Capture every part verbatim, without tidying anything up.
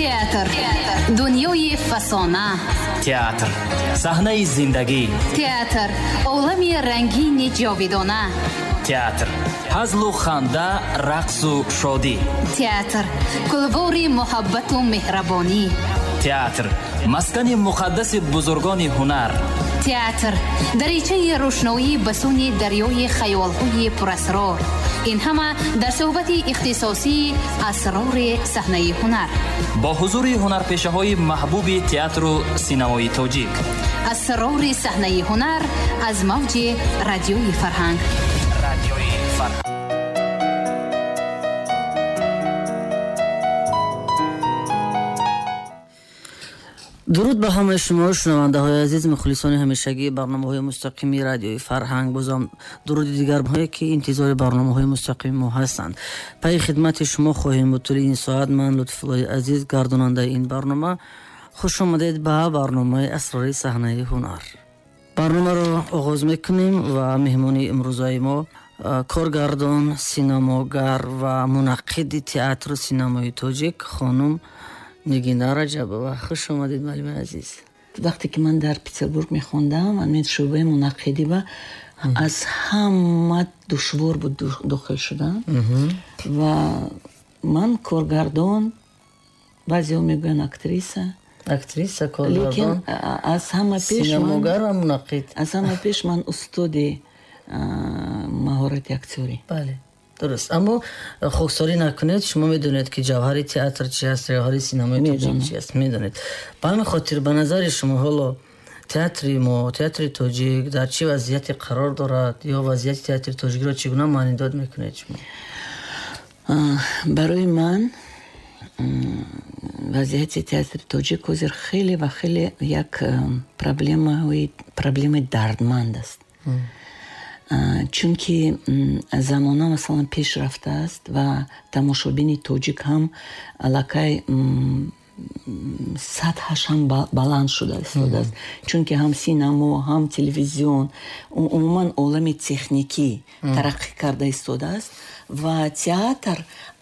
Театр. Дунёи фасона. Театр. Саҳнаи зиндагӣ. Театр. Олами рангини ҷовидона. Театр. Ҳазлу ханда, рақсу шодӣ. Театр. Кулвори муҳаббату меҳрабонӣ. Театр. Маскани муқаддаси бузургони ҳунар. Театр. Даричаи рӯшноӣ ба сӯи дарёи хаёлҳои пурасрор. Ин ҳама дар суҳбати ихтисосии асрори саҳнаи ҳунар. Бо ҳузури ҳунарпешаҳои маҳбуби театру синамои тоҷик. Асрори саҳнаи ҳунар аз мавҷи радиои фарҳанг. Радиои фарҳанг. Дуруд ба ҳамаи шумо шунавандаҳои азиз, мухлисони ҳамешагии барномаҳои мустақими радиои фарҳанг. Бозам дуруди дигарҳое ки интизори барномаҳои мустақими мо ҳастанд. Пайи хидмати шумо хоҳем буд тӯли ин соат. Ман Лутфуллои азиз, гардонандаи ин барнома. Хуш омадед ба барномаи асрори саҳнаи ҳунар. Барномаро оғоз мекунем ва меҳмони имрӯзаи мо коргардон, синамогар ва мунаққиди театру синамои тоҷик хонум Нигина Раҷабова. Хуш омадед, муаллими азиз. Вақте ки ман дар Петербург мехондам, ман шӯъбаи мунаққидӣ ба аз ҳама душвор буд дохил шудан. Ва ман коргардон, баъзеҳо мегӯянд актриса. Актриса, коргардон. Лекин аз ҳама пеш синамогар ва мунаққид. Аз ҳама пеш ман устоди маҳорати актёрӣ. Бале. Дуруст. Аммо хоксорӣ накунед, шумо медонед ки ҷавҳари театр чи аст, ҷавҳари синамои тоҷик чи аст, медонед. Ба ҳамин хотир ба назари шумо ҳоло театри мо, театри тоҷик дар чӣ вазъияте қарор дорад ё вазъияти театри тоҷикро чӣ гуна маънидод мекунед шумо? Барои ман вазъияти театри тоҷик ҳозир хеле ва хеле як проблемаҳои проблемаи дардманд аст. Чунки замона масалан пеш рафтааст ва тамошобини тоҷик ҳам аллакай сатҳаш ҳам баланд шуда истодааст. Чунки ҳам синамо, ҳам телевизион, умуман олами техникӣ тараққӣ карда истодааст ва театр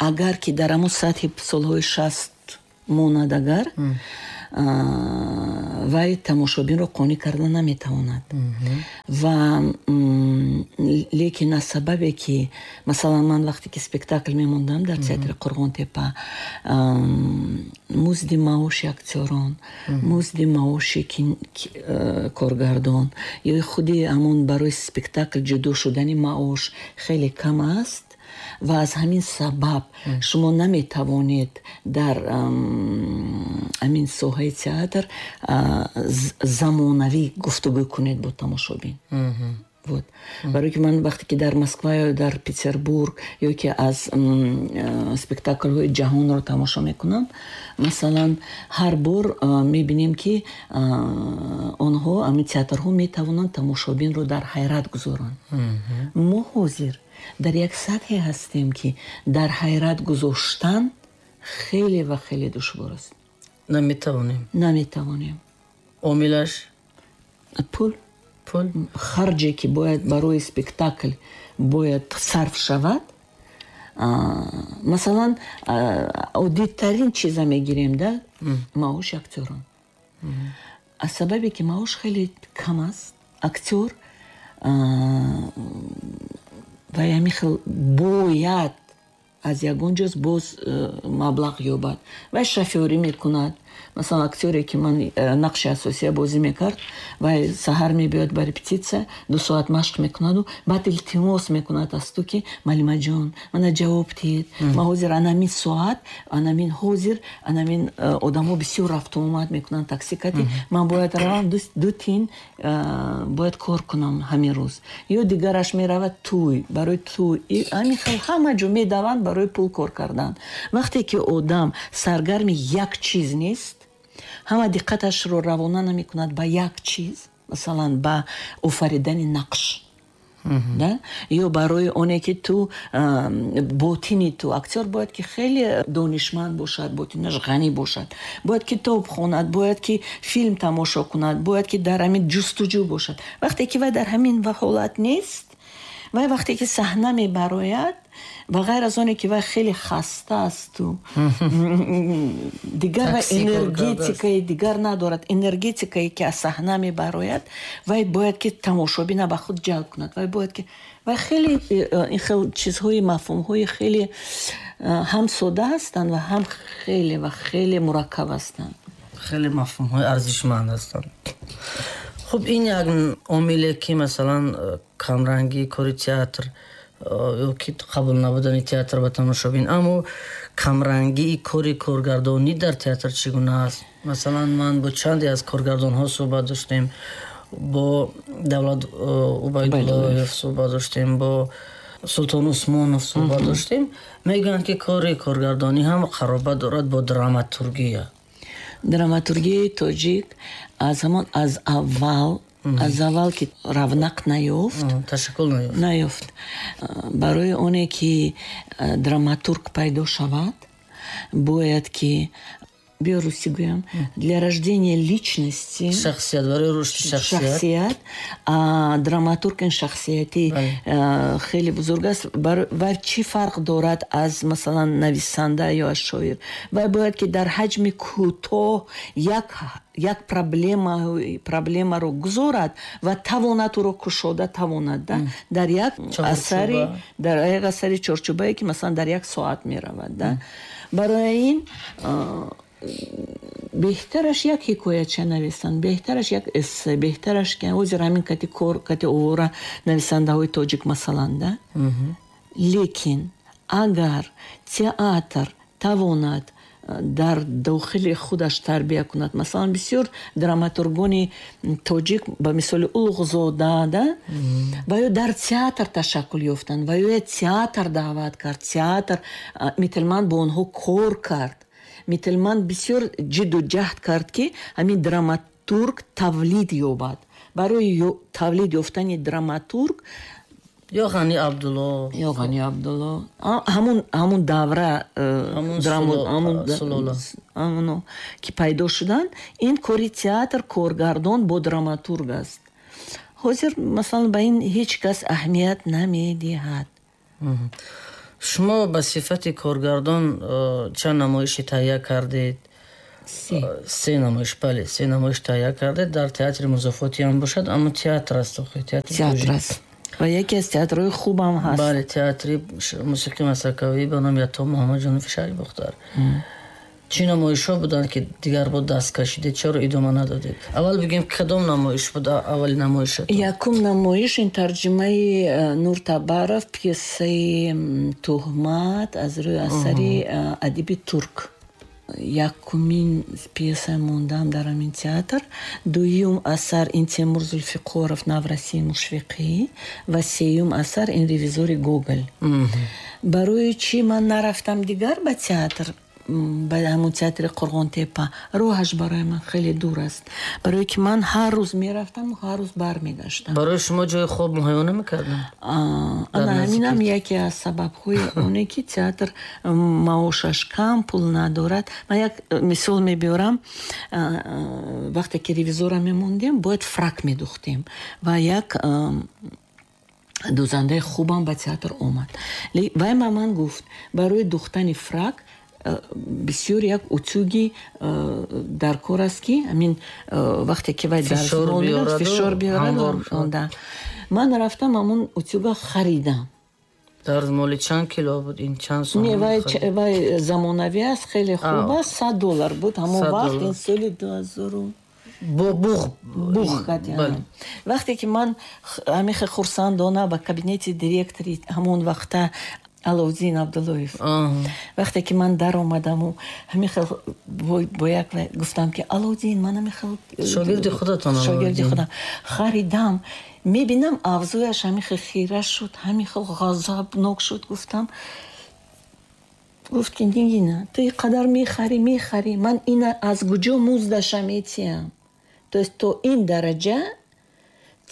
агар ки дар ҳамон сатҳи солҳои шаст монад, агар вай тамошобинро қонеъ карда наметавонад. Ва лекин аз сабабе ки масалан ман вақте ки спектакл мемондам дар театри Қурғонтепа, музди маоши актёрон, музди маоши коргардон ё худи ҳамон барои спектакл ҷудо шудани маош хеле кам аст. Ва аз ҳамин сабаб шумо наметавонед дар ҳамин соҳаи театр замонавӣ гуфтугӯ кунед бо тамошобин. Вот. Барои ки ман вақте ки дар Москва ё дар Петербург ё ки аз спектаклҳои ҷаҳонро тамошо мекунам, масалан ҳар бор мебинем ки онҳо, ҳамин театрҳо метавонанд тамошобинро дар ҳайрат гузоранд. Мо ҳозир дар як сатҳе ҳастем ки дар ҳайрат гузоштан хеле ва хеле душвор аст. Наметавонем. Наметавонем. Омилаш? Пул. Пул? Харҷе ки бояд барои спектакл бояд сарф шавад. Масалан, оддитарин чиза мегирем, да? Маоши актёрон. Аз сабабе ки маош хеле кам аст, актёр ва ҳамин хел бояд аз ягон ҷоз боз маблағ ёбад. Вай шофёрӣ мекунад. Масалан, актёре ки ман нақши асосия бозӣ мекард, вай саҳар мебиёд ба репетитсия, ду соат машқ мекунаду баъд илтимос мекунад аз ту ки малимаҷон, мана ҷавоб диҳед. Ман ҳозир анамин соат, анамин ҳозир, анамин одамо бисёр рафтуомад мекунанд такси кати, ман бояд равам ду тин, бояд кор кунам ҳамин рӯз. Ё дигараш меравад тӯй, барои тӯй. Ҳамин хел ҳама ҷо медаванд барои пул кор кардан. Вақте ки одам саргарми як чиз нест, ҳама диққаташро равона намекунад ба як чиз, масалан ба офаридани нақш, да? Ё барои оне ки ту ботини ту, актёр бояд ки хеле донишманд бошад, ботинаш ғанӣ бошад, бояд китоб хонад, бояд ки филм тамошо кунад, бояд ки дар ҳамин ҷустуҷӯ бошад. Вақте ки вай дар ҳамин ҳолат нест, Вай вақте ки саҳна мебарояд, ба ғайр аз оне ки вай хеле хаста асту дигар энергетикаи дигар надорад, энергетикае ки аз саҳна мебарояд, вай бояд ки тамошобина ба худ ҷалб кунад. Вай бояд ки вай хеле ин хел чизҳои, мафҳумҳои хеле ҳам сода ҳастанд ва ҳам хеле ва хеле мураккаб ҳастанд. Хеле мафҳумҳои арзишманд ҳастанд. Хуб, ин як омиле ки масалан камрангии кори театр ё ки қабул набудани театр ба тамошобин, аммо камрангии кори коргардонӣ дар театр чӣ гуна аст? Масалан, ман бо чанде аз коргардонҳо суҳбат доштем, бо Давлат Убайдуллоев суҳбат доштем, бо Султон Усмонов суҳбат доштем. Мегӯянд ки кори коргардонӣ ҳам қаробат дорад бо драматургия. Драматургияи тоҷик аз ҳамон аз аввал, аз аввал ки равнақ наёфт, ташаккул наёфт, наёфт. Барои оне ки драматург пайдо шавад, бояд ки, биё русӣ гӯям, для рождения личности, шахсият, барои рушди шахсият, шахсият, драматург ин шахсияти хеле бузург аст. Вай чӣ фарқ дорад аз масалан нависанда ё аз шоир? Вай бояд ки дар ҳаҷми кӯтоҳ як як проблема проблемаро гузорад ва тавонад ӯро кушода тавонад, да, дар як асари, дар як асари чорчӯбае ки масалан дар як соат меравад, да. Барои ин беҳтараш як ҳикояча нависанд, беҳтараш як эссе, беҳтараш ки ҳозир ҳамин кати кор кати овора нависандаҳои тоҷик масалан, да. Лекин агар театр тавонад дар дохили худаш тарбия кунад, масалан бисёр драматургони тоҷик ба мисоли Улуғзода, да, ва ё дар театр ташаккул ёфтанд, ва ё театр даъват кард, театр Мителман бо онҳо кор кард. Мителман бисёр ҷидду ҷаҳд кард ки ҳамин драматург тавлид ёбад. Барои тавлид ёфтани драматург ё Ғани Абдулло, ё Ғани Абдулло, ҳамун ҳамун давра ҳамуно ки пайдо шуданд, ин кори театр коргардон бо драматург аст. Ҳозир масалан ба ин ҳеҷ кас аҳамият намедиҳад. Шумо ба сифати коргардон чанд намоиши таҳия кардед? Се намоиш, бале, се намоиш таҳия кардед. Дар театри музофотӣ ҳам бошад, аммо театр аст, театр аст ва яке аз театрҳои хубам ҳаст. Бале, театри мусиқии масакавӣ ба номи Ато Муҳаммадҷонови шаҳри Бохтар. Чӣ намоишҳо буданд ки дигар бо даст кашидед, чаро идома надодед? Аввал бигӯем кадом намоиш буд аввали намоишатон? Якум намоиш ин тарҷумаи Нур Табаров, пьесаи Туҳмат аз рӯи асари адиби турк. Якумин пьеса мондам дар ҳамин театр. Дуюм асар ин Темур Зулфиқоров Наврасии Мушфиқӣ ва сеюм асар ин Ревизори Гоголь. Барои чӣ ман нарафтам дигар ба театр, ба ҳамон театри Қурғонтепа? Роҳаш барои ман хеле дур аст, барое ки ман ҳар рӯз мерафтаму ҳар рӯз бармегаштам. Барои шумо ҷои хоб муҳайё намекарданд? Ана ҳаминам яке аз сабабҳои оне ки театр маошаш кам, пул надорад. Ман як мисол мебиёрам. Вақте ки ревизора мемондем, бояд фрак медухтем ва як дӯзандаи хубам ба театр омад. Вай ба ман гуфт, барои духтани фрак бисёр як утюги дар кор аст ки ҳамин вақте ки вай фишор биёрад. Ман рафтам ҳамон утюга харидам. Дар моли чанд кило буд ин, чанд сом? Не, вай вай замонавӣ аст, хеле хуб аст, сад доллар буд ҳамон вақт, ин соли ду ҳазору бо буғ буғ кардем. Вақте ки ман ҳамихе хурсандона ба кабинети директори ҳамон вақта Аловдин Абдуллоев, вақте ки ман даромадаму ҳамихел бо як гуфтам ки Аловдин, ман ҳамихел шогирди худатон, шогирди худам харидам, мебинам авзояш ҳамихел хира шуд, ҳамихел ғазабнок шуд. Гуфтам, гуфт ки Нигина, ту ин қадар мехарӣ мехарӣ, ман ина аз куҷо муздаша метиҳам? То есть то ин дараҷа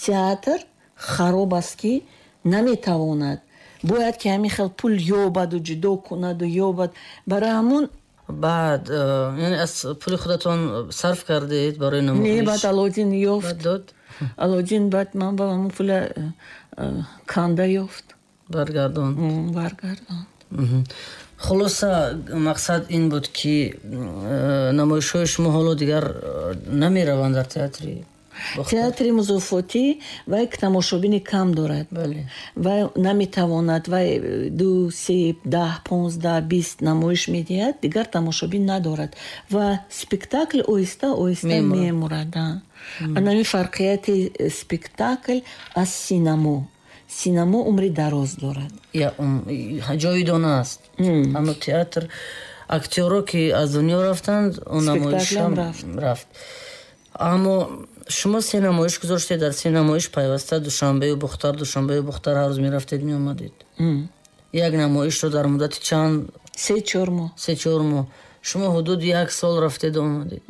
театр хароб аст ки наметавонад, бояд ки ҳамин хел пул ёбаду ҷудо кунаду ёбад. Барои ҳамун баъд яъне аз пули худатон сарф кардед барои намоиш? Не, баъд Алодин ёфт. Дод? Алоуддин баъд ман ба ҳамон пула канда ёфт. Баргардонд. Баргардонд. Хулоса, мақсад ин буд, ки намоишҳои шумо ҳоло дигар намераванд дар театри Театри музофотӣ вай тамошобини кам дорад, вай наметавонад, вай ду, се, даҳ, понздаҳ, бист намоиш медиҳад, дигар тамошобин надорад ва спектакл оҳиста оҳиста мемурад. Анами фарқияти спектакл аз синамо. Синамо умри дароз дорад, ҷовидона аст, аммо театр актёро ки аз дунё рафтанд, он намоишам рафт. Аммо шумо се намоиш гузоштед, дар се намоиш пайваста Душанбею Бухтар, Душанбею Бухтар ҳар рӯз мерафтед, меомадед. Як намоишро дар муддати чанд? Се чор моҳ. Се чор моҳ. Шумо ҳудуди як сол рафтеду омадед.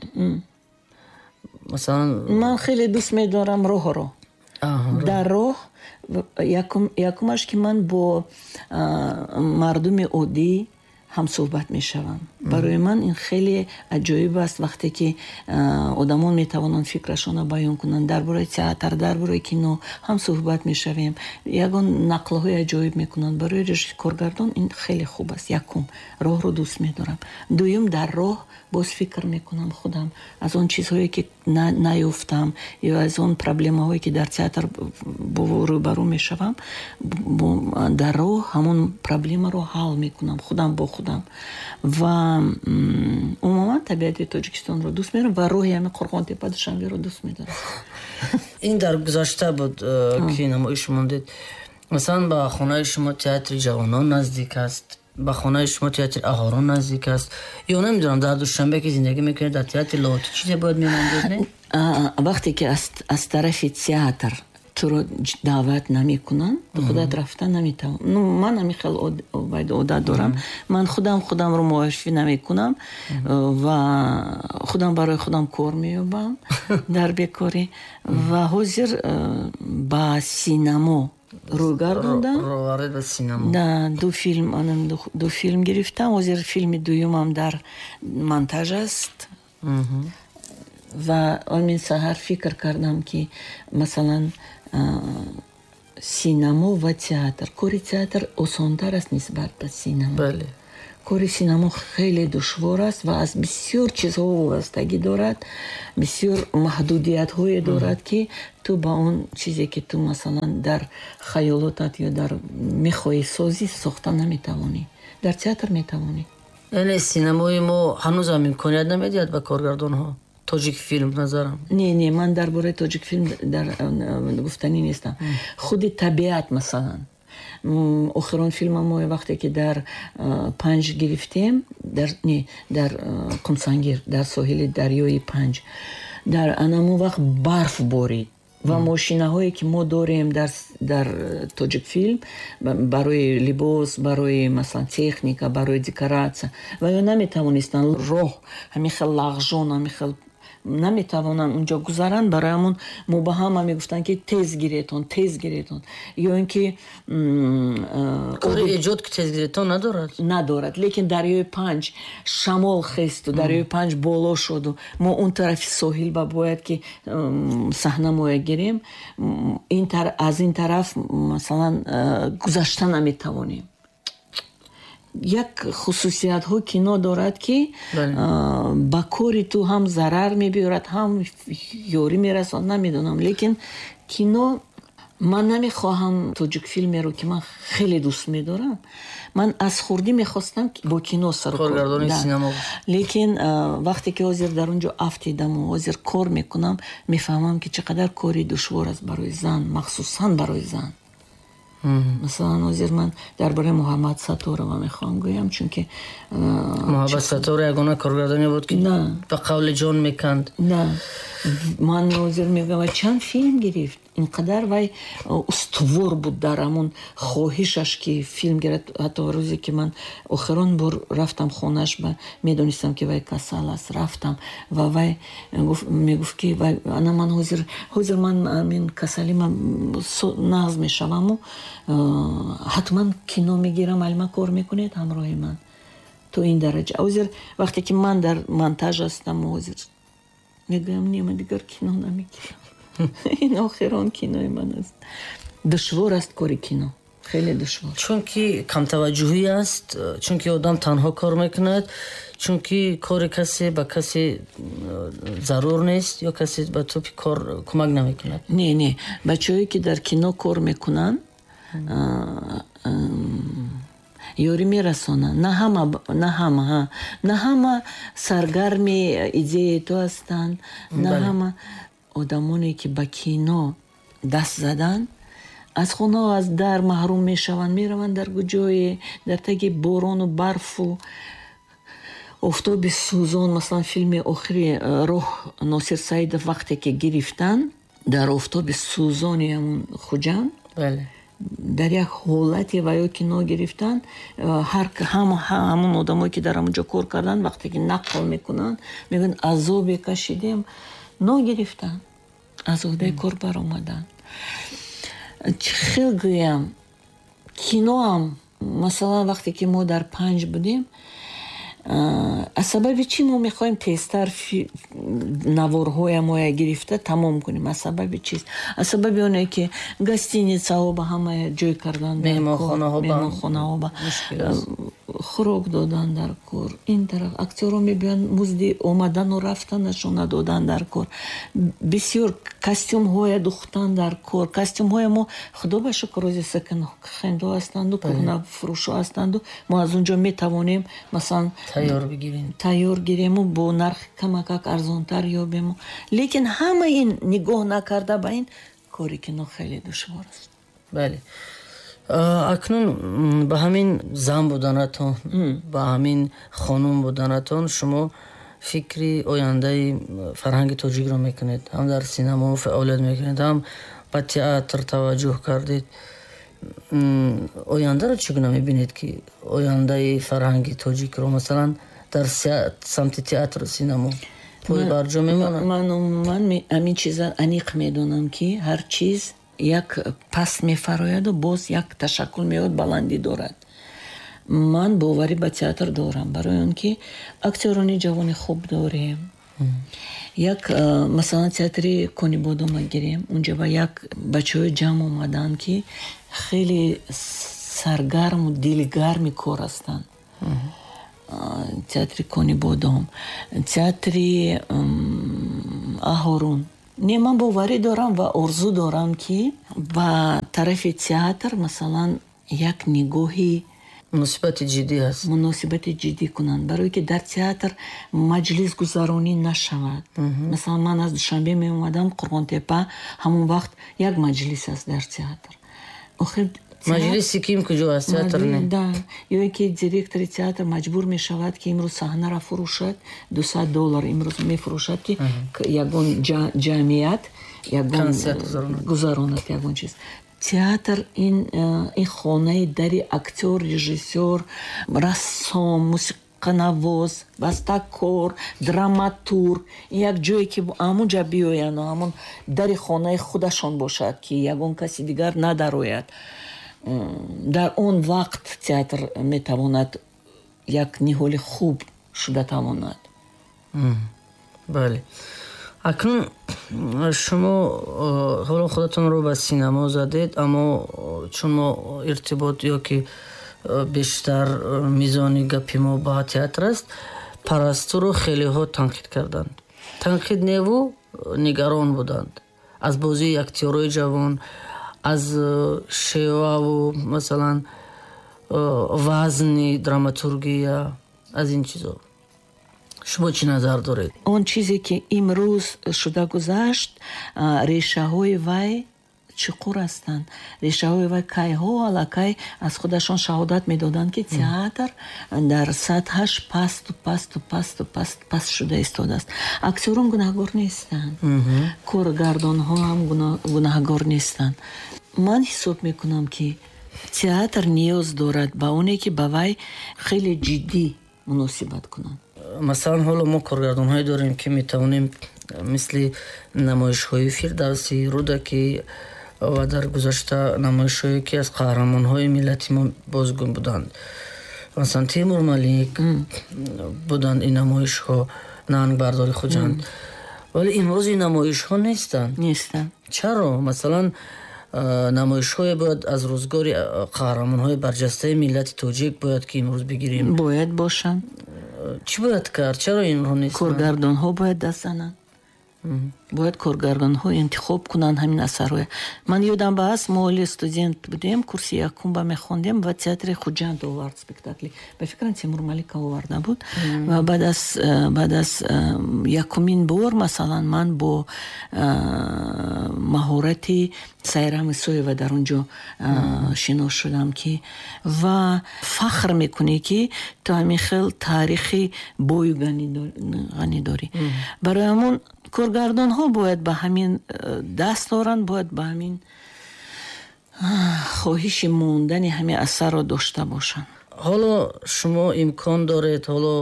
Масалан, ман хеле дӯст медорам роҳро. Дар роҳ якумаш, ки ман бо мардуми оддӣ ҳамсӯҳбат мешавам. Барои ман ин хеле аҷоиб аст, вақте ки одамон метавонанд фикрашонро баён кунанд дар бораи театр, дар бораи кино ҳамсӯҳбат мешавем, ягон нақлҳои аҷоиб мекунанд. Барои коргардон ин хеле хуб аст. Якум, роҳро дӯст медорам. Дуюм, дар роҳ боз фикр мекунам худам аз он чизҳое, ки наёфтам, ё аз он проблемаҳое, ки дар театр рӯбарӯ мешавам. Дар роҳ ҳамон проблемаро ҳал мекунам худам бо худам. Ва умуман табиати Тоҷикистонро дӯст медорам ва роҳи ҳамин Қурғонтепа Душанберо дӯст медорам. Ин дар гузашта буд, ки намоиш мондед. Масалан, ба хонаи шумо театри ҷавонон наздик аст, ба хонаи шумо театри аҳорон наздик аст, ё намедонам, дар Душанбе ки зиндагӣ мекунед, дар театри Лоҳутӣ чизе бояд мемондед, не? Вақте ки аз тарафи театр туро даъват намекунанд, ту худат рафта наметавон. Ну, ман ҳамин хел одат дорам, ман худам худамро муаррифӣ намекунам ва худам барои худам кор меёбам дар бекорӣ. Ва ҳозир ба синамо рӯй гардондам. Ду филм, ду филм гирифтам. Ҳозир филми дуюмам дар монтаж аст. Ва омин саҳар фикр кардам, ки масалан синамо ва театр, кори театр осонтар аст нисбат ба синамо. Кори синамо хеле душвор аст ва аз бисёр чизҳо вобастагӣ дорад, бисёр маҳдудиятҳое дорад, ки ту ба он чизе, ки ту масалан дар хаёлотат ё дар мехоҳӣ созӣ, сохта наметавонӣ. Дар театр метавонӣ. Яъне синамои мо ҳанӯзам имконият намедиҳад ба коргардонҳо? Тоҷикфилм назарам. Не, не, ман дар бораи Тоҷикфилм дар гуфтанӣ нестам. Худи табиат, масалан, охирон филма мо вақте ки дар Панҷ гирифтем, дар не, дар Қумсангир, дар соҳили дарёи Панҷ, дар анамон вақт барф борид ва мошинаҳое, ки мо дорем дар дар Тоҷикфилм барои либос, барои масалан техника, барои декоратсия, ва ё наметавонистанд, роҳ ҳамин хел лағжон, ҳамин хел наметавонанд унҷо гузаранд. Барои ҳамон мо ба ҳама мегуфтанд, ки тез гиретон, тез гиретон, ё ин ки кори эҷод ки тез гиретон надорад. Надорад, лекин дарёи Панҷ шамол хесту дарёи Панҷ боло шуду мо он тарафи соҳил ба бояд ки саҳна моя гирем, аз ин тараф масалан гузашта наметавонем. Як хусусиятҳо кино дорад, ки ба кори ту ҳам зарар мебиёрад, ҳам ёрӣ мерасонад, намедонам. Лекин кино, ман намехоҳам тоҷикфилмеро, ки ман хеле дӯст медорам, ман аз хурдӣ мехостам бо кино сарукор, лекин вақте ки ҳозир дар он ҷо афтидаму ҳозир кор мекунам, мефаҳмам, ки чӣ қадар кори душвор аст барои зан, махсусан барои зан. Масалан, ҳозир ман дар бораи Муҳаммад Сатторова мехоҳам гӯям, чунки Муҳаббат Сатторова ягона коргардоне буд, ки ба қавли ҷон меканд. На, ман ҳозир мегӯям, вай чанд филм гирифт, ин қадар вай устувор буд дар ҳамон хоҳишаш, ки филм гирад. Ҳатто рӯзе, ки ман охирон бор рафтам хонааш, ба медонистам, ки вай касал аст, рафтам ва вай мегуфт, ки вай ана ман ҳозир ҳозир ман амин касалима нағз мешаваму ҳатман кино мегирам, алма кор мекунед ҳамроҳи ман. То ин дараҷа. Ҳозир вақте ки ман дар монтаж ҳастам, ҳозир мегӯям, не, ман дигар кино намегирам. Ин охирон кинои ман аст. Душвор аст кори кино, хеле душвор. Чунки камтаваҷҷӯҳӣ аст, чунки одам танҳо кор мекунад, чунки кори касе ба касе зарур нест ё касе ба тӯпи кор кӯмак намекунад. Не, не, бачаҳое ки дар кино кор мекунанд, ёрӣ мерасонанд. На ҳама, на ҳама, ҳа, на ҳама саргарми идеяи ту ҳастанд, на ҳама одамоне ки ба кино даст заданд аз хона, аз дар маҳрум мешаванд, мераванд дар куҷое, дар таги борону барфу офтоби сӯзон. Масалан, филми охири роҳ Носир Саидов вақте ки гирифтанд, дар офтоби сӯзони ҳамун Хуҷанд, дар як ҳолате ва ё кино гирифтанд, ҳамон одамое ки дар ҳамон ҷо кор карданд, вақте ки нақл мекунанд, мегӯянд азобе кашидем, ногирифтанд, аз уҳдаи кор баромаданд. Чӣ хел гӯям, киноам, масалан, вақте ки мо дар панҷ будем, аз сабаби чӣ мо мехоҳем тезтар наворҳоя моя гирифта тамом кунем? Аз сабаби чист? Аз сабаби оне ки гостиницаҳо ба ҳама ҷой кардан, меҳмонхонаҳо ба хӯрок додан дар кор, ин тараф актёрҳо мебиёянд, музди омадану рафтанашона додан дар кор, бисёр костюмҳоя духтан дар кор. Костюмҳоя мо, худо ба шукр, рози секонд-хендҳо ҳастанду, кӯҳнафурӯшҳо ҳастанду, мо аз он ҷо метавонем масалан тайёр бигирем, тайёр гирему бо нархи камакак арзонтар ёбему. Лекин ҳама ин нигоҳ накарда ба ин кори кино хеле душвор аст. Бале, акнун ба ҳамин зан буданатон, ба ҳамин хонум буданатон шумо фикри ояндаи фарҳанги тоҷикро мекунед, ҳам дар синамо фаъолият мекунед, ҳам ба театр таваҷҷӯҳ кардед. Ояндаро чӣ гуна мебинед, ки ояндаи фарҳанги тоҷикро масалан дар самти театру синамо пой барҷо мемонад? Ман умуман ҳамин чиза аниқ медонам, ки ҳар чиз як паст мефарояду боз як ташаккул меояд, баландӣ дорад. Ман боварӣ ба театр дорам, барои он ки актёрони ҷавони хуб дорем. Як масалан театри Конибодома гирем, унҷа ба як бачаҳои ҷамъ омаданд, ки хеле саргарму дилгарми кор ҳастанд. Театри Конибодом, театри Аҳорун. Не, ман боварӣ дорам ва орзу дорам, ки ба тарафи театр масалан як нигоҳи муносибати ҷиддӣ ҳаст, муносибати ҷиддӣ кунанд, барое ки дар театр маҷлис гузаронӣ нашавад. Масалан, ман аз Душанбе меомадам Қурғонтепа, ҳамон вақт як маҷлис аст дар театр. Охир маҷлиси ким куҷо аст, театр не? Да, ё ин ки директори театр маҷбур мешавад, ки имрӯз саҳнаро фурӯшад, дусад доллар имрӯз мефурӯшад, ки ягон ҷамъият ягон гузаронад ягон чиз. Театр ин ин хонаи дари актёр, режиссёр, рассом, мусиқанавоз, бастакор, драматург, ин як ҷое ки ҳамон ҷа биёянд, ҳамон дари хонаи худашон бошад, ки ягон каси дигар надарояд. Дар он вақт театр метавонад як ниҳоли хуб шуда тавонад. Бале, акнун шумо ҳоло худатонро ба синамо задед, аммо чун мо иртибот ё ки бештар мизони гапи мо ба театр аст, Парастуро хелеҳо танқид карданд. Танқид неву нигарон буданд аз бозии актёрои ҷавон, аз шеваву масалан вазни драматургия, аз ин чизо. Шумо чӣ назар доред? Он чизе ки имрӯз шуда гузашт, решаҳои вай чуқур ҳастанд. Решаҳои вай кайҳо аллакай аз худашон шаҳодат медоданд, ки театр дар сатҳаш пасту пасту пасту паст паст шуда истодааст. Актёрон гунаҳгор нестанд, коргардонҳо ҳам гунаҳгор нестанд. Ман ҳисоб мекунам, ки театр ниёз дорад ба оне ки ба вай хеле ҷиддӣ муносибат кунанд. Масалан, ҳоло мо коргардонҳое дорем, ки метавонем мисли намоишҳои Фирдавсӣ, Рӯдакӣ ва дар гузашта намоишҳое ки аз қаҳрамонҳои миллати мо бозгум буданд, масалан Темур Малик буданд, ин намоишҳо, Нангбардори Хуҷанд Вале имрӯз ин намоишҳо нестанд. Нестанд. Чаро? Масалан, намоишҳое бояд аз рӯзгори қаҳрамонҳои барҷастаи миллати тоҷик бояд ки имрӯз бигирем. Бояд бошанд. Чӣ бояд кард? Чаро инҳо нестанд? Коргардонҳо бояд даст зананд. Бояд коргардонҳо интихоб кунанд ҳамин асарҳоя. Ман ёдам ба аст, мо оли студент будем, курси якум ба мехондем ва театри Хуҷанд овард спектакли. Ба фикрам, Тимур Малика оварда буд. Ва баъд аз баъд аз якумин бор, масалан, ман бо маҳорати Сайра Мисоева дар он ҷо шинос шудам, ки ва фахр мекунӣ, ки ту ҳамин хел таърихи бою ғанӣ дорӣ. Барои ҳамон коргардонҳо бояд ба ҳамин даст доранд, бояд ба ҳамин хоҳиши мондани ҳамин асарро дошта бошанд. Ҳоло шумо имкон доред, ҳоло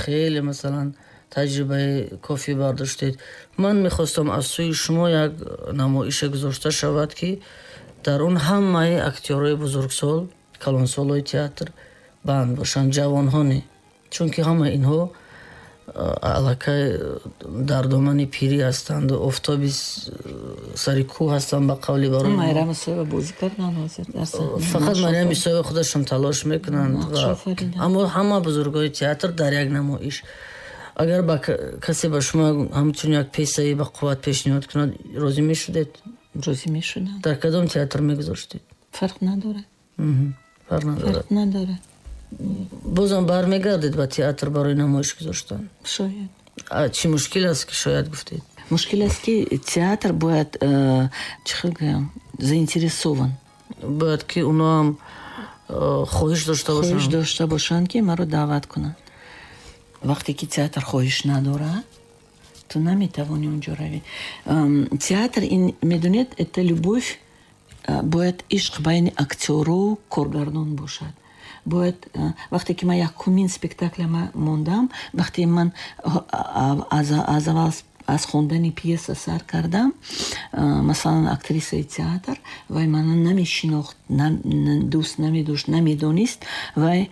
хеле, масалан, таҷрибаи кофӣ бардоштед. Ман мехостам аз сӯи шумо як намоише гузошта шавад, ки дар он ҳамаи актёрҳои бузургсол, калонсолҳои театр банд бошанд, ҷавонҳо не, чунки ҳама инҳо аллакай дар домани пирӣ ҳастанд, офтоби сари кӯҳ ҳастанд, ба қавли барои Майрам Исоева бозӣ карданд ҳозир дар саҳна. Фақат Марьям Исоева худашон талош мекунанд, аммо ҳама бузургои театр дар як намоиш. Агар ба касе ба шумо ҳамчун як пьесаи ба қувват пешниҳод кунад, розӣ мешудед? Розӣ мешудам. Дар кадом театр мегузоштед? Фарқ надорад. Фарқ надорад. Фарқ надорад. Бозам бармегардед ба театр барои намоиш гузоштан? Шояд. Чӣ мушкил аст, ки шояд гуфтед? Мушкил аст, ки театр бояд, чӣ хел гӯям, заинтересован. Бояд ки оно ҳам хоҳиш дошта бошанд. Хоҳиш дошта бошанд, ки маро даъват кунанд. Вақте ки театр хоҳиш надорад, ту наметавонӣ онҷо равӣ. Театр, ин, медонед, это любовь, бояд ишқ байни актёру коргардон бошад. Бояд, вақте ки ман якумин спектакля мондам, вақте ман аз аввал аз хондани пьеса сар кардам, масалан, актрисаи театр вай мана намешинохт, дӯст намедошт, намедонист. Вай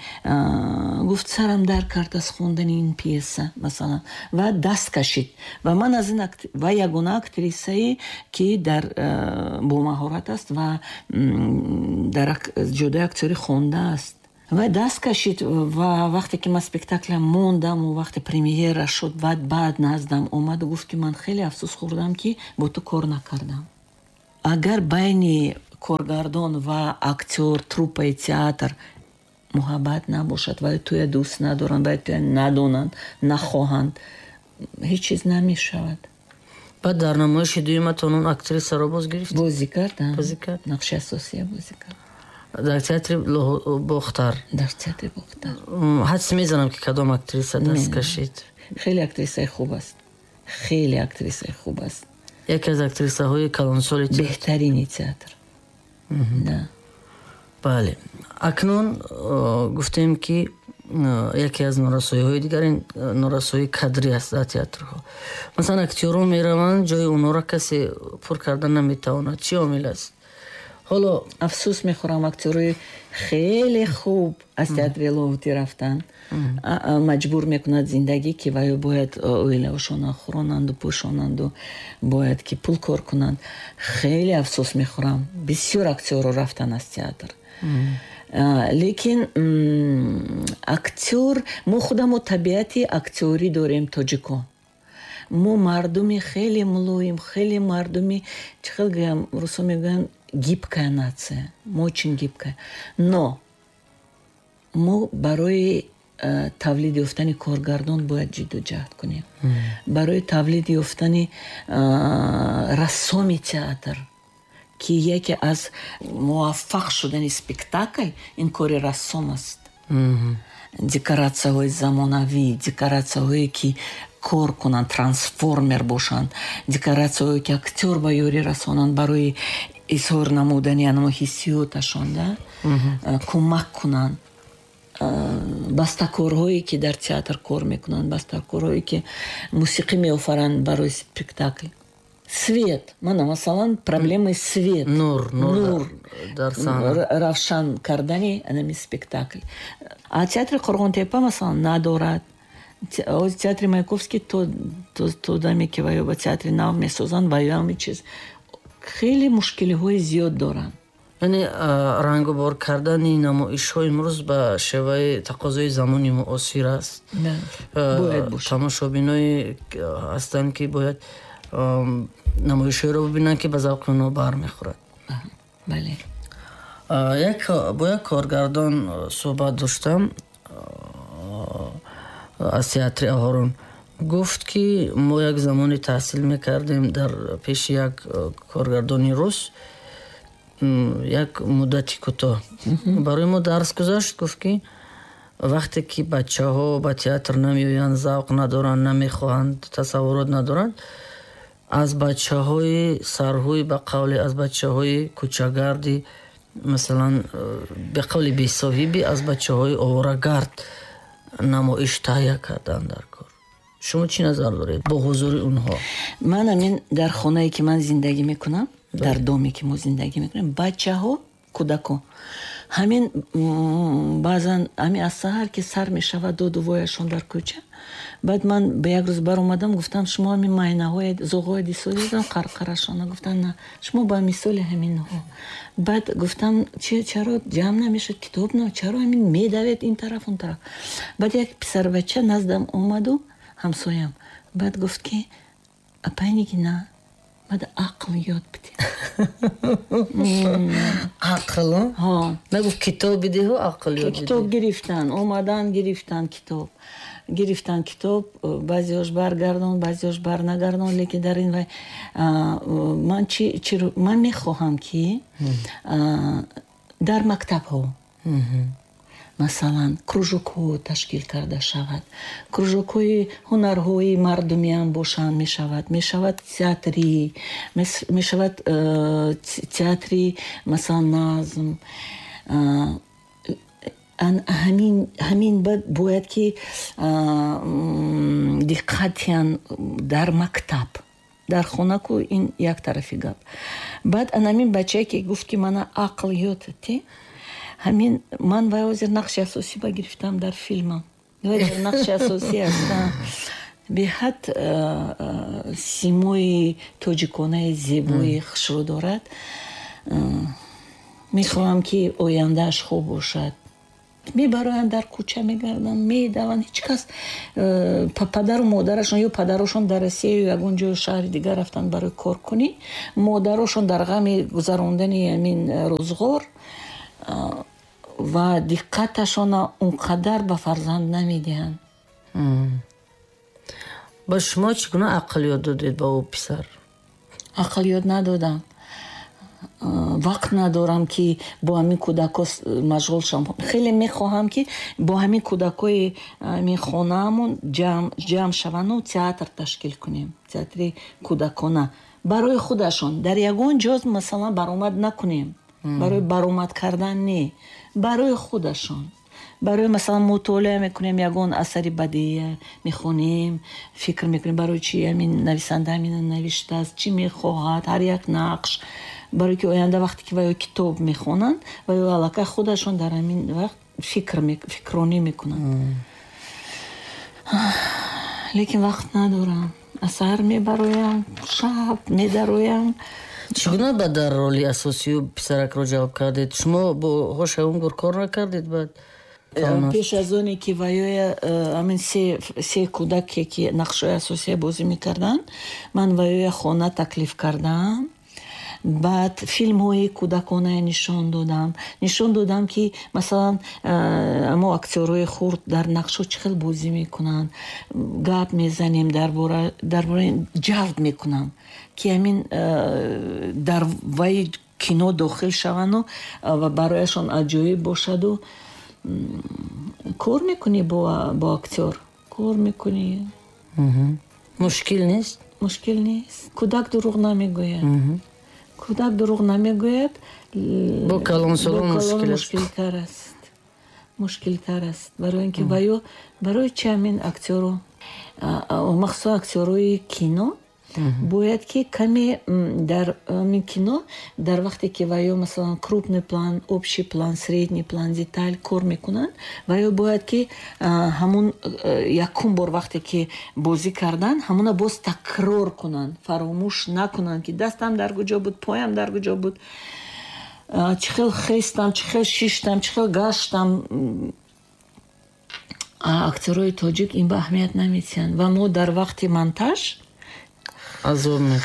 гуфт: «Сарам дар кард аз хондани ин пьеса», масалан, ва даст кашид. Ва ман аз ин, вай ягона актрисае, ки дар бомаҳорат аст ва дар ҷодаи актёрӣ хондааст, вай даст кашид. Ва вақте ки ман спектакля мондаму вақте премьера шуд, баъд баъд наздам омаду гуфт, ки ман хеле афсӯс хӯрдам, ки бо ту кор накардам. Агар байни коргардон ва актёр, труппаи театр муҳаббат набошад, вай туя дӯст надоранд, вай туя надонанд, нахоҳанд, ҳеҷ чиз намешавад. Баъд дар намоиши дуюматон он актрисаро боз гирифт? Бозӣ кардам. Бозӣ кард. Нақши асосия бозӣ кард. Дар театри Бохтар? Дар театри Бохтар. Ҳадс мезанам, ки кадом актриса даст кашид. Хеле актрисаи хуб аст, хеле актрисаи хуб аст. Яке аз актрисаҳои калонсоли театр. Беҳтарини театр, да. Бале, акнун гуфтем, ки яке аз норасоиҳои дигар ин норасоии кадрӣ аст дар театрҳо. Масалан, актёрон мераванд, ҷои онҳоро касе пур карда наметавонад. Чӣ омил аст ҳоло? Афсӯс мехӯрам, актёрои хеле хуб аз театри Лоҳутӣ рафтанд. Маҷбур мекунад зиндагӣ, ки ваё бояд оилаошонро хӯронанду пӯшонанду бояд ки пул кор кунанд. Хеле афсӯс мехӯрам, бисёр актёрро рафтан аз театр. Лекин актёр, мо худамо табиати актёрӣ дорем, тоҷикон. Мо мардуми хеле мулоим, хеле мардуми, чӣ хел гӯям, русо мегӯянд, гибкая нация, мо очень гибкая. Но мо барои э, тавлид ёфтани коргардон бояд ҷидду ҷаҳд кунем, барои тавлид ёфтани э, рассоми театр, ки яке аз муваффақ шудани спектакль ин кори рассом аст. Декоратсияҳои замонавӣ, декоратсияҳое, ки кор кунанд, трансформер бошанд, декоратсияҳое, ки актёр ба ёрӣ расонанд барои изҳор намудани анамо ҳиссиёташон, да, кӯмак кунанд. Бастакорҳое, ки дар театр кор мекунанд, бастакорҳое, ки мусиқӣ меофаранд барои спектакл, свет, мана, масалан, проблемаи свет. Нур. Нур. Дар саҳна. Равшан кардани анами спектакл. А театри Қурғонтепа, масалан, надорад. Театри Маяковский то то даме ки ваё ба театри нав месозанд, ваё ҳамин чиз хеле мушкилиҳои зиёд доранд. Яъне рангубор кардани намоишҳо имрӯз ба шеваи тақозои замони муосир аст. Бояд бошад. Тамошобиное ҳастанд, ки бояд намоишҳоеро бибинанд, ки ба завқи онҳо бармехӯрад. Бале. Як бо як коргардон суҳбат доштам аз театри Аҳорун. Гуфт, ки мо як замоне таҳсил мекардем дар пеши як коргардони рус, як муддати кӯтоҳ барои мо дарс гузашт. Гуфт, ки вақте ки бачаҳо ба театр намеоянд, завқ надоранд, намехоҳанд, тасаввурот надоранд, аз бачаҳои сарҳӯй, ба қавле аз бачаҳои кӯчагарди, масалан, ба қавли бесоҳибӣ, аз бачаҳои оворагард намоиш таҳия кардан дар кор. Шумо чӣ назар доред бо ҳузури онҳо? Ман ҳамин дар хонае ки ман зиндагӣ мекунам, дар доме ки мо зиндагӣ мекунем, бачаҳо, кӯдакон ҳамин баъзан ҳамин аз саҳар ки сар мешавад доду вояшон дар кӯча. Баъд ман ба як рӯз баромадам, гуфтам, шумо ҳамин майнаҳои зоғҳои дисолидам қарқарашона. Гуфтам, на, шумо ба мисоли ҳаминҳо. Баъд гуфтам, чаро ҷамъ намешад китоб, на чаро ҳамин медавед ин тараф он тараф. Баъд як писарбача наздам омаду, ҳамсоям, баъд гуфт, ки апай Нигина, баъд ақл ёд бидед. Ақл? Нагуфт китоб бидиҳу, ақл ёд бидеҳ. Китоб гирифтан, омадан гирифтан китоб. Гирифтан китоб, баъзеҳош баргардон, баъзеҳош барнагардон, лекин дар ин вай ман чи ман мехоҳам, ки дар мактабҳо масалан кружокҳо ташкил карда шавад, кружокҳои ҳунарҳои мардумиам бошанд, мешавад, мешавад театри, мешавад театри масалан назм. Ҳамин ҳамин бояд ки диққатян дар мактаб, дар хона ку ин як тарафи гап. Баъд анамин бачае ки гуфт, ки мана ақл ёд те, ҳамин ман вай ҳозир нақши асосӣ ба гирифтам дар филмам. Вай дар нақши асосӣ ҳастам. Беҳад симои тоҷиконаи зебои хушрӯ дорад. Мехоҳам, ки ояндааш хуб бошад. Мебароянд, дар кӯча мегарданд, медаванд, ҳеҷ кас падару модарашон ё падарошон дар Россия ё ягон ҷои шаҳри дигар рафтанд барои коркунӣ, модарошон дар ғами гузарондани ҳамин рӯзғор ва диққаташона он қадар ба фарзанд намедиҳанд. Ба шумо чӣ гуна ақл ёд додед ба ӯ писар? Ақл ёд надодам. Вақт надорам, ки бо ҳамин кӯдакҳо машғул шавам. Хеле мехоҳам, ки бо ҳамин кӯдакҳои ҳамин хонаамон ҷамъ шаванду театр ташкил кунем, театри кӯдакона барои худашон. Дар ягон ҷо масалан баромад накунем, барои баромад кардан не, барои худашон. Барои масалан мутолиа мекунем, ягон асари бадеия мехонем, фикр мекунем, барои чи ҳамин нависанда ҳамина навиштааст, чӣ мехоҳад, ҳар як нақш, барои ки оянда вақте ки ваё китоб мехонанд, ваё аллакай худашон дар ҳамин вақт фикр фикронӣ мекунанд. Лекин вақт надорам. Аз саҳар мебароям, шаб медароям. Чӣ гуна ба дар роли асосию писаракро ҷавоб кардед? Шумо бо ҳошаумгур кор накардед баъд? Пеш аз оне ки ваёя ҳамин се кӯдаке ки нақшҳои асосия бозӣ мекарданд, ман ваёя хона таклиф кардам. Баъд филмҳои кӯдаконае нишон додам. Нишон додам, ки масалан мо актёрҳои хурд дар нақшҳо чӣ хел бозӣ мекунанд, гап мезанем дар бораи, ҷалб мекунам, ки ҳамин дар вай кино дохил шаванду ва барояшон аҷоиб бошаду. Кор мекунӣ бо актёр, кор мекунӣ. Мушкил нест? Мушкил нест. Кӯдак дурӯғ намегӯяд. Кӯдак дурӯғ намегӯяд. Бо калонсолон мушкилтар аст. Мушкилтар аст. Барои ин ки ваё барои чи ҳамин актёру, махсусан актёрҳои кино Бояд ки каме дар кино, дар вақте ки ваё, масалан, крупный план, общий план, средний план, деталь кор мекунанд, ваё бояд ки ҳамун якум бор вақте ки бозӣ кардан, ҳамуна боз такрор кунанд, фаромӯш накунанд, ки дастам дар куҷо буд, поям дар куҷо буд, чӣ хел хестам, чӣ хел шиштам, чӣ хел гаштам. Актерои тоҷик ин ба аҳамият наметиҳанд ва мо дар вақти монтаж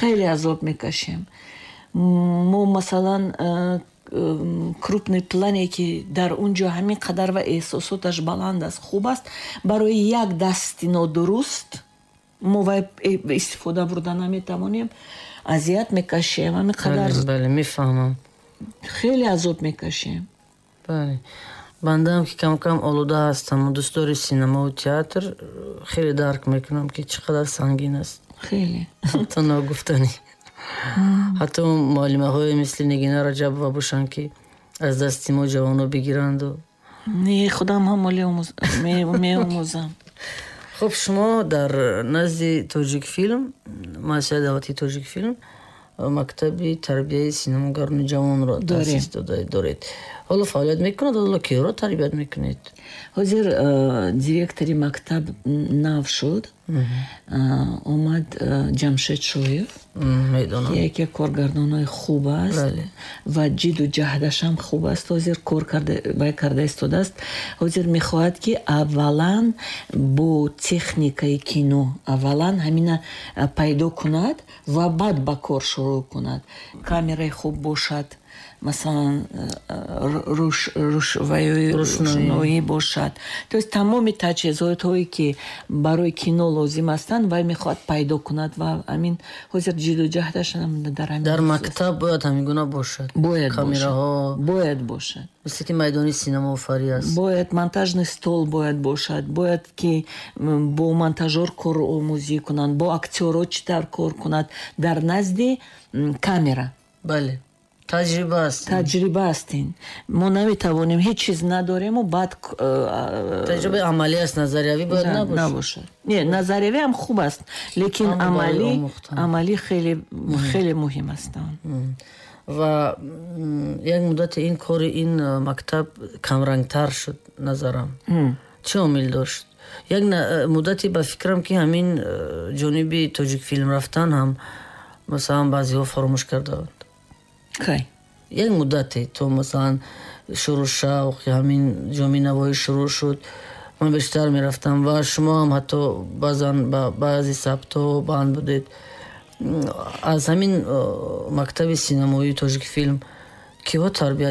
хеле азоб мекашем. Мо, масалан, крупный плане ки дар он ҷо ҳамин қадар ва эҳсосоташ баланд аст, хуб аст, барои як дасти нодуруст мо вай истифода бурда наметавонем, азият мекашем ҳамин қадар. Бале, мефаҳмам. Хеле азоб мекашем. Бале, бандаам ки кам-кам олуда ҳастам, дӯстдори синамову театр, хеле дарк мекунам, ки чӣ қадар сангин аст. Хеле. Ҳатто ногуфтанӣ, ҳатто муаллимаҳое мисли Нигина Раҷабова бошанд, ки аз дасти мо ҷавоно бигиранду. Не, худам ҳам оле меомӯзам. Хуб, шумо дар назди Тоҷикфилм, муассисаи давлатии Тоҷикфилм, мактаби тарбияи синамогарони ҷавонро таъсис доред. Ҳоло фаъолият мекунад? Ҳоло киҳоро тарбият мекунед? Ҳозир э, директори мактаб нав шуд, э, омад э, Ҷамшед Шоев. Медонам. Яке коргардонҳои хуб аст ва ҷиду ҷаҳдашам хуб аст. Ҳозир кор вай карда истодааст. Ҳозир мехоҳад, ки аввалан бо техникаи кино аввалан ҳамина пайдо кунад ва баъд ба кор шурӯъ кунад. Камераи хуб бошад, масалан, рӯшноӣ бошад, то есть тамоми таҷҳизотҳое, ки барои кино лозим ҳастанд, вай мехоҳад пайдо кунад ва ҳамин ҳозир ҷиду ҷаҳдаш дар ҳамин. Дар мактаб бояд ҳамин гуна бошад? Бояд. Камераҳо. Бояд бошад. Мисли ки майдони синамоофарӣ аст. Бояд монтажный стол бояд бошад, бояд ки бо монтажёр кор омӯзӣ кунанд, бо актёрҳо чӣ тавр кор кунад дар назди камера. Бале, таҷриба аст. Таҷриба аст ин. Мо наметавонем, ҳеҷ чиз надорему баъд э, таҷрибаи амалӣ аст, назариявӣ бояд набошад. Набошад. Не, назариявӣ ҳам хуб аст, лекин амалӣ амалӣ хеле хеле муҳим аст. Ва як муддате ин кори ин мактаб камрангтар шуд, назарам. Чӣ омил дошт? Як муддате ба фикрам, ки ҳамин э, ҷониби Тоҷикфилм рафтан ҳам, масалан, баъзеҳо фаромӯш кардаанд. Кай? Як муддате то, масалан, шурӯъ шавқи ҳамин Ҷоми Навоӣ шурӯъ шуд, ман бештар мерафтам ва шумо ҳам ҳатто баъзан ба баъзе сабтҳо банд будед. Аз ҳамин э, мактаби синамоии Тоҷикфилм киҳо тарбият